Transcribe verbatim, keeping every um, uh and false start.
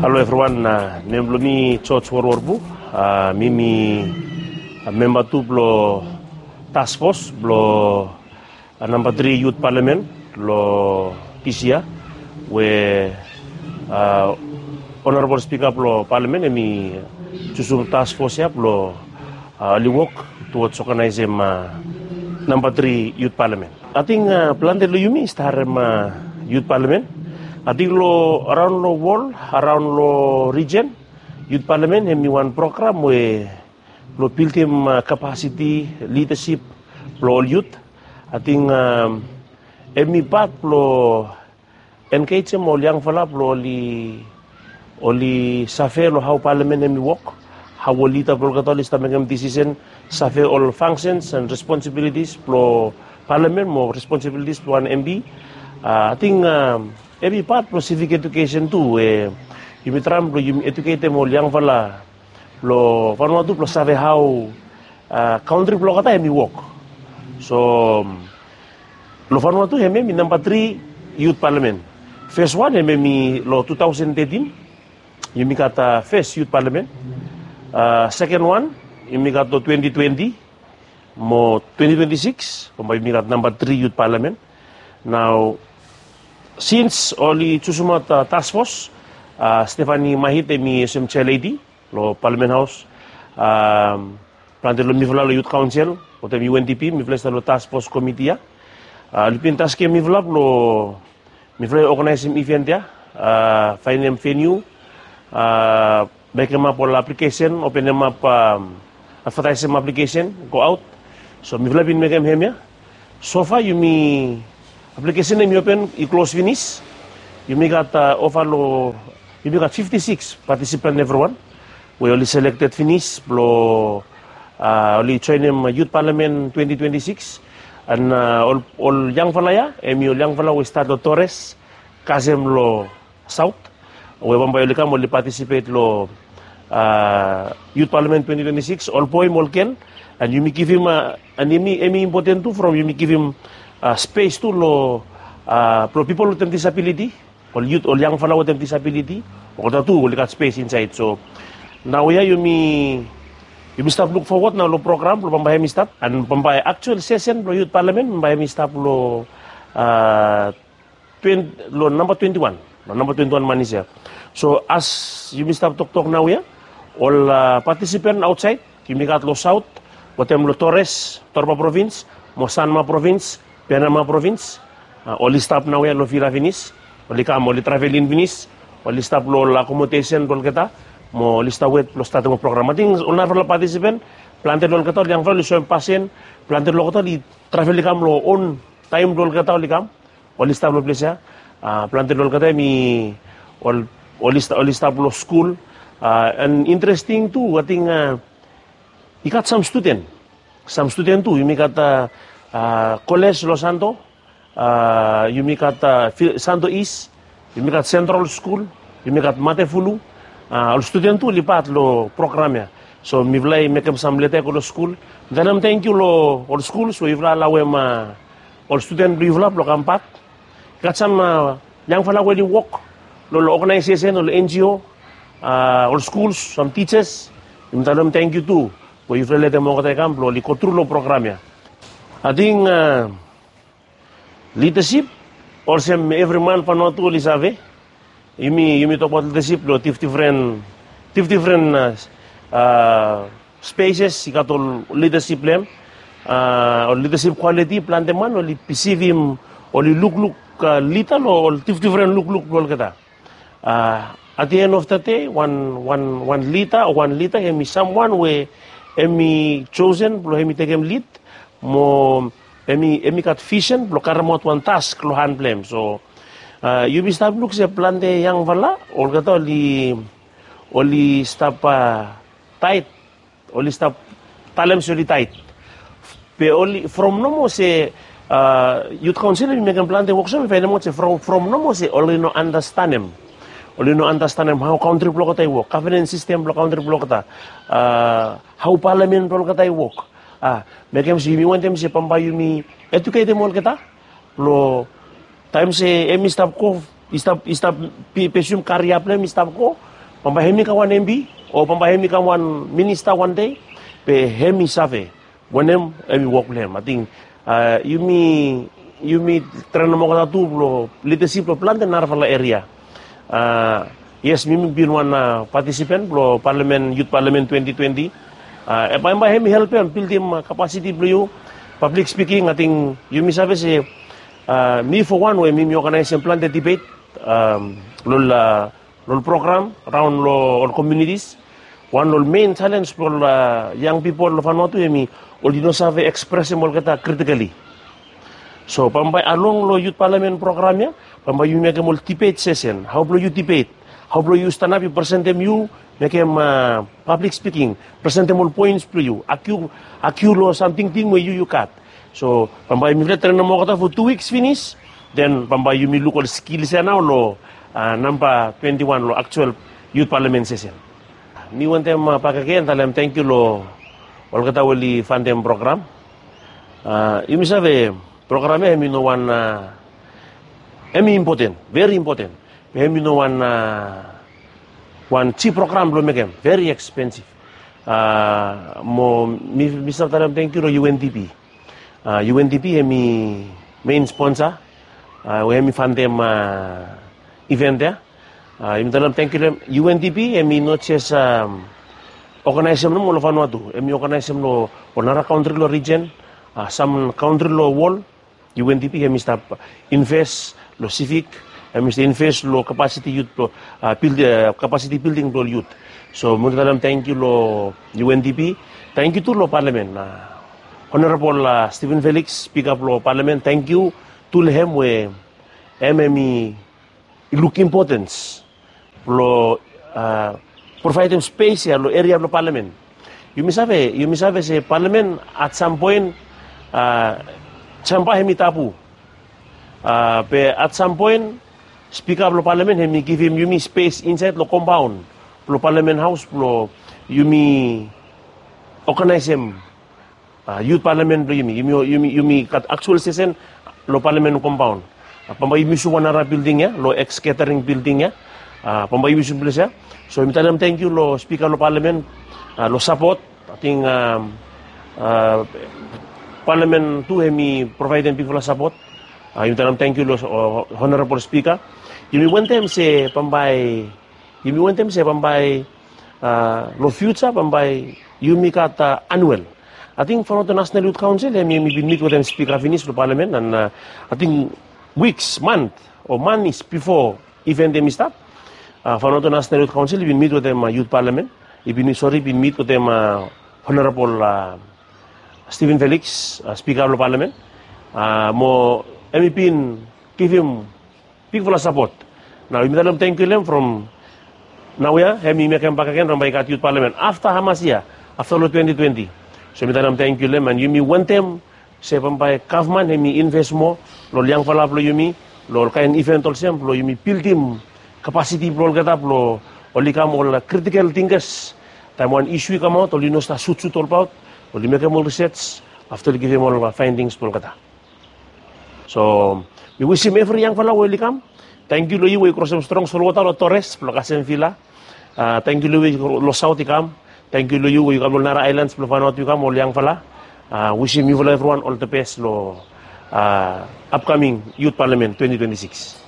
Halo evriwan, nem blong mi George Worworpu. Mi mi memba tu blong task force blong namba tri yut palamen long dis yia, we Honorabol Spika blong palamen hem i jusum task force ya blong oli wok towards organizem namba tri yut palamen. Ating plante long yumi i stap harem yut palamen. Ating long araon long wol, araon long rijen, yut palamen hem i wan program we blong bildim kapasiti, lidasip blong ol yut. Ating hem i pat blong engejem ol yangfala blong oli oli save long hao palamen hem i wok, hao ol lida blong olgeta oli stap mekem disisen, save ol fangsens and responsibilities blong palamen mo responsibilities blong wan M P. Ating hem i pat blong civic education tu, we yumi traem blong yumi eduketem ol yangfala blong Vanuatu blong save hao kantri blong olgeta hem i wok. So long Vanuatu hem hem i namba tri yut palamen. Fes wan hem hem i long tu taosen tetin, yumi gat fes yut palamen. Seken wan yumi gat long twenti twenti, mo twenti twenti sikis bambae yumi gat namba tri yut palamen. Nao sins oli jusumaot task force, Stephanie Mahit hem i olsem chair lady long palamen haos. Plante long mifala long yut kaonsel wetem U N D P, mifala i stap long task force komiti ya. Oli bin taskem mifala blong mifala i oganaesem iven ya, faenem veniu, mekemap ol aplikesen, openemap, advataesem aplikesen go aot. So mifala bin mekem hemia. Sofa yumi aplikesen hem i open, i klos finis. Yumi gat ova long yumi gat fifti sikis patisipan evriwan we oli selekted finis blong oli joenem yut palamen twenti twenti sikis. And ol yangfala ya hem i ol yangfala we i stat long Torres kasem long saot, we bambae oli kam oli patisipet long yut palamen twenti twenti sikis, ol boe mo ol gel. And yumi givim, and hem i impoten tu from yumi givim spes tu long blong pipol wetem disabiliti, ol yut, ol yangfala wetem disabiliti, olgeta tu oli gat spes insaed. So naoia yumi yumi stap luk fowod nao long program blong bambae hem i stap, and bambae aktual sesen blong yut palamen bambae hem i stap long long namba twenti wan, long namba twenti wan manis ya. So as yumi stap toktok naoia, ol patisipan aotsaed yumi gat long saot wetem long Torres, Torba provins, mo Sanma provins, Penama provins, oli stap naoia long vila finis. Oli kam, oli travel in finis, oli stap long ol akomodesen blong olgeta, mo oli stap wet blong statem ol program. Ating ol narafala patisipan, plante long olgeta ol yangfala oli soem pasin, plante long olgeta oli travel i kam long on taem blong olgeta oli kam, oli stap long ples ya. Plante long olgeta hem i oli stap long skul. And interesting tu, ating i gat sam studen, sam studen tu. Yumi gat koles long Santo, yumi gat Santo East, yumi gat Sentral Skul, yumi gat Matefulu. Ol studen tu oli pat long program ya. So mifala i mekem sam leta i go long skul, mi talem tangkiu long ol skul we yufala alaoem ol studen blong yufala blong kambak. I gat sam yangfala we oli wok long ol oganaesesen, ol N G O, ol skuls, sam tijas. Yumi talem tangkiu tu we yufala letem olgeta i kam blong oli gotru long program ya. Ating lidasip, olsem evri man Vanuatu oli save, yumi yumi tokbaot lidasip long difdifren, difdifren speses i gat ol lidasip blong hem. Ol lidasip kwaliti, plante man oli pisivim, oli lukluk lida long ol difdifren lukluk blong olgeta. At the end of the day, wan wan wan lida o wan lida hem i samwan we hem i josen blong hem i tekem lid, mo hem i hem i gat visen blong karemaot wan task long han blong hem. So yumi stap luk se plante yangfala olgeta oli oli stap taet, oli stap talem se oli taet. Be oli from nomo se yut kaonsel i mekem plante wok, so mi faenemaot se from from nomo se oli no andastanem, oli no andastanem hao kantri blong olgeta i wok, gavenens sistem blong kantri blong olgeta, hao palamen blong olgeta i wok. Mekem se yumi wantem se bambae yumi eduketem olgeta blong taem se hem i stap go i stap i stap, pesium karia blong hem i stap go, bambae hem i kam wan M P o bambae hem i kam wan minista wan dei, be hem i save wanem hem i wok blong hem. Ating yumi yumi trenem olgeta tu blong lidasip blong plante narafala eria. Yes, mi mi bin wan patisipen blong palamen, yut palamen twenti twenti. Bambae hem i helpem bildim kapasiti blong yu. Pablik spiking, ating yumi save se mi fo wan we mi mi oganaesem plante dibet long ol program raon long ol komiunitis. Wan long ol men jalens blong ol yang pipol long fanua tu hem i oli no save ekspresem olgeta kritikali. So bambae along long yut palamen program ya, bambae yu mekem ol dibet sesen, hao blong yu dibet, hao blong yu stanap yu presentem yu mekem pablik spiking, presentem ol poens blong yu, akiu akiu long sam tingting we yu yu gat. So bambae mifala trenem olgeta fo tu wiks finis, den bambae yumi luk ol skils ya nao long namba twenti wan long aktual yut palamen sesen. Mi wantem bakegen talem tangkiu long olgeta we oli fantem program. Yumi save program ya hem i no wan, hem i impoten, veri impoten, be hem i no wan wan jip program blong mekem, veri ekspensif. Mo mi mi stap talem tangkiu long U N D P. U N D P hem i men sponsa we hem i fantem iven ya. Yumi talem tangkiu long hem. U N D P hem i no jes oganaesem nomo long fanua tu, hem i oganaesem long ol nara kantri long rijen, sam kantri long wol. U N D P hem i stap inves long sivik, hem i stap inves long kapasiti yut blong kapasiti bilding blong ol yut. So mi wantem talem tangkiu long U N D P. Tangkiu tu long palamen, honorabol Steven Felix, spika blong palamen, tangkiu tu long hem we hem hem i i luk impotens blong provaedem spes ya long eria blong palamen. Yumi save yumi save se palamen at sam poen jamba hem i tabu. Be at sam poen spika blong palamen hem i givim yumi spes insaed long kompaon blong palamen haos blong yumi oganaesem yut palamen blong yumi. Yumi gat aktual sesen long palamen kompaon. Bambae yumi yusum wan nara bilding ya, long eks getaring bilding ya. Bambae yumi yusum ples ya. So yumi talem tangkiu long spika long palamen long sapot. Ating palamen tu hem i provaedem bigfala sapot. Yumi talem tangkiu long honorabol spika. Yumi wantem se bambae yumi wantem se bambae long fiuja bambae yumi gat anuel. Ating Vanuatu National Youth Council hem yumi bin mit wetem spika finis long palamen, an ating wiks, mant o manis bifo iven hem i stap, Vanuatu National Youth Council i bin mit wetem yut palamen, i bin sori i bin mit wetem honorabol Steven Felix, spika blong palamen, mo hem i bin givim bigfala sapot. Nao yumi talem tangkiu long hem from naoia hem i mekem bakegen bambae i gat yut palamen afta hamas yia, afta long twenti twenti. So yumi talem tangkiu long hem, an yumi wantem se bambae gavman hem i inves moa long ol yangfala blong yumi long ol kaen iven olsem blong yumi bildim kapasiti blong olgeta blong oli kam ol kritikel tingkas. Taem wan isu i kamaot oli no stap sutsut olbaot, oli mekem ol risej afta oli givim ol faendings blong olgeta. So mi wisim evri yangfala we oli kam. Tangkiu long yu we yu krosem strong solwota long Torres blong kasem vila. Tangkiu long yu we yu long saot i kam. Tangkiu long yu we yu kam long nara aelans blong faendaot yu kam ol yangfala. Wisim yufala evriwan ol the best long apkaming yut palamen twenti twenti sikis.